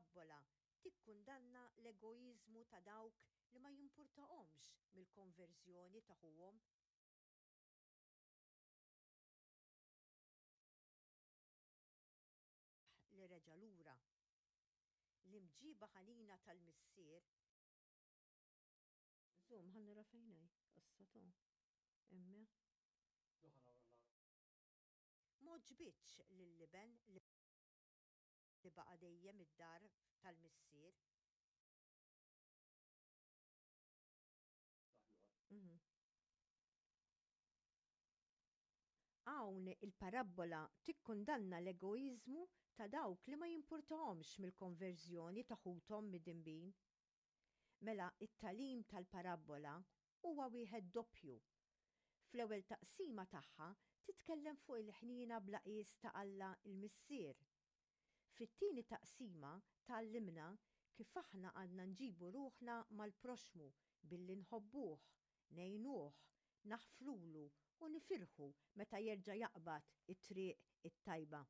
Il-parabbola tikkundanna l-egoiżmu ta' dawk li ma jimpurtahomx mill-konverżjoni ta' ħuhom li reġa' lura. L-imġiba ħanina tal-missier. Żomm, ħa nara fejn hi, issa to. Hemm. M'għoġbitx lill-iben li baqa' dejjem id-dar tal-missier. Hawn il-parabbola tikkundanna l-egoiżmu ta' dawk li ma jimpurtahomx mill-konverżjoni ta' ħuthom midinbin. Mela t-tagħlim tal-parabbola huwa wieħed doppju. Fl-ewwel taqsima tagħha titkellem fuq il-ħniena bla qies ta' Alla l-Missier. Fit-tieni taqsima tgħallimna kif aħna għandna nġibu ruħna mal-proxxmu billi nħobbuh, ngħinuh, naħfrulu u nifirħu meta jerġa' jaqbad it-triq it-tajba.